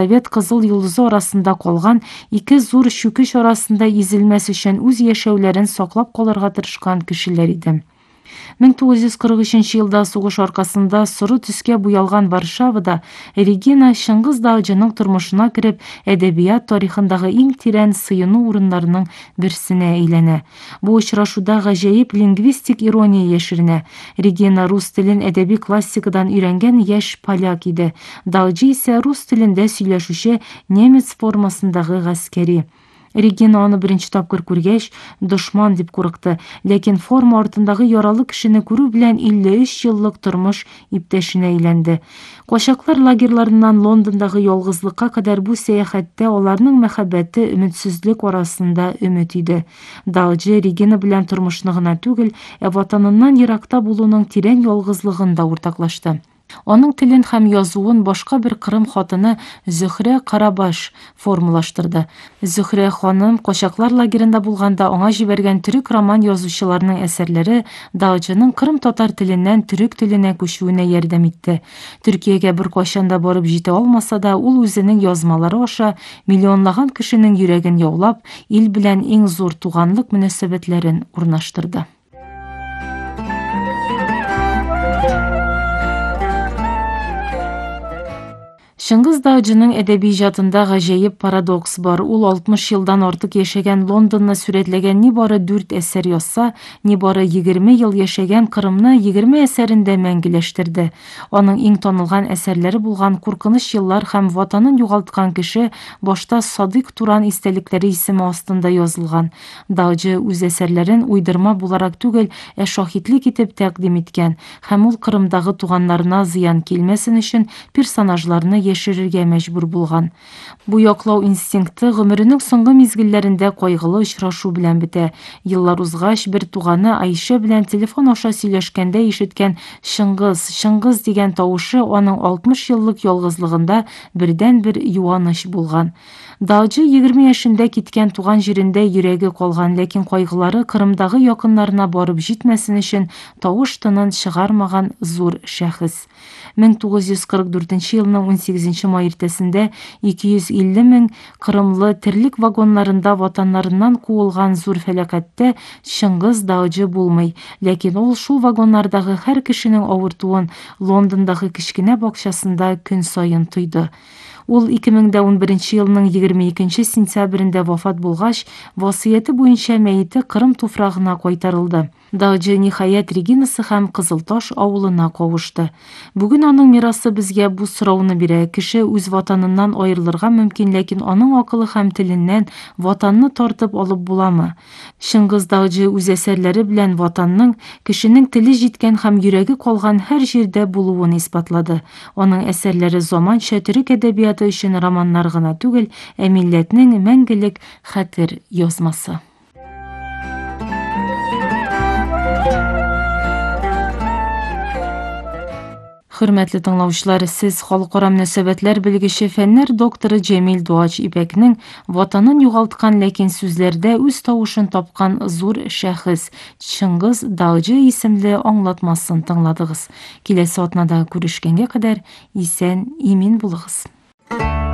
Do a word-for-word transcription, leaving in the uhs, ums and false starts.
Совет Кызыл Юлдузу арасында колган эки зур шүкүш арасында изилмес үчүн үз жашоолорун соклоп калырга тырышкан кишилер иди. миң тогуз жүз кырк үчүнчү жылда согуш аркасында суру түскө буялган Варшавада Регина Чыңгыз Даачынын турмушуна кирип, эдебият тарыхындагы эң тирен сыйынуу орундарынын бирсине айлана. Бул учурашууда гажайып лингвистик ирония яширине. Регина рус тилин эдеби классикадан үйрөнгөн яш поляк иди. Даачы исе рус тилинде сүйлөшүшө немец формасындагы гаскери. Регина аны биринчи тапкыр көргөч, душман деп куркты, лекин форма артындагы яралы кишини көрүү менен элүү үч жылдык турмуш иптешине айланды. Кошаклар лагерларынан Лондондогу жалгыздыкка кадар бул саякатте алардын махаббаты үмүтсүзлүк арасында үмүт иди. Даачы Регина менен турмушуну гана түгел, ватанынан иракта болуунун тирен жалгыздыгын да уртаклашты. Onun тилин һәм язуун башка бир кырым хатыны Зөһрә Карабаш формулаштырды. Зөһрә ханым кошаклар лагеринде булганда аңа җибәргән түрк роман язучыларының әсәрләре Даачының кырым татар тиленнән түрк теленә күчүенә ярдәм итте. Төркиягә бер качан да барып җитә алмаса да, ул үзенең язмалары аша миллионлаган кешенең йөрәген яулап, ил белән иң зур туганлык мөнәсәбәтләрен урнаштырды. Чыңгыз Даачынын эдеби ижадында гажайып парадокс бар. Ул алтымыш жылдан артык яшәгән Лондонны сүрөтләгән ни бары дүрт әсәр язса, ни бары егерме ел яшәгән Кырымны егерме әсәрендә мәңгеләштерде. Аның иң танылган әсәрләре булган Куркыныч еллар һәм Ватанын югалткан кеше башта Садык Туран истәлекләре исеме астында язылган. Даачы үз әсәрләрен уйдырма буларак түгел, ә шаһитлек итеп тәкъдим иткән һәм ул Кырымдагы туганнарына зыян килмәсен өчен персонажларны яшерергә мәҗбүр булган. Бу яклау инстинкты гомеренең соңгы мизгелләрендә кайгылы очрашу белән бетә. Еллар узгач, бер туганы Айша белән телефон аша сөйләшкәндә ишеткән Чыңгыз, Чыңгыз дигән тавышы аның алтмыш еллык ялгызлыгында бердән-бер юаныч булган. Даачы егерме яшендә киткән туган җирендә йөрәге калган, ләкин кайгылары Кырымдагы якыннарына барып җитмәсен өчен тавыш тынын чыгармаган зур шәхес. миң тогуз йөз кырк дүртенче елның он сигезенче май иртәсендә ике йөз илле мең кырымлы терлек вагоннарында ватаннарыннан куылган зур фәлакәттә Чыңгыз Даачы булмый, ләкин ул шул вагоннардагы һәр кешенең авыртуын Лондондагы кичкенә бакчасында көн сайын тойды. Ул ике мең он беренче елның егерме икенче сентябрендә вафат булгач, васыяты буенча мәете Кырым туфрагына кайтарылды. Даачы ниһаят Регинасы һәм Кызылташ авылына кавышты. Бүген аның мирасы безгә бу сорауны бирә. Кеше үз ватаныннан аерылырга мөмкин, ләкин аның акылы һәм теленнән ватанны тартып алып буламы? Чыңгыз Даачы үз әсәрләре белән ватанның, кешенең теле җиткән һәм йөрәге калган һәр җирдә булуын исбатлады. Аның әсәрләре заманча төрек әдәбияты өчен романнар гына түгел, ә милләтнең мәңгелек хәтер язмасы. Хөрмәтле тыңлаучылар, сез халыкара мөнәсәбәтләр белгече фәннәр докторы Җәмил Дуач Ипәкнең ватанын югалткан, ләкин сүзләрдә үз тавышын тапкан зур шәхес Чыңгыз Даачы исемле аңлатмасын тыңладыгыз. Киләсе атнада күрешкәнгә кадәр исән, имин булыгыз.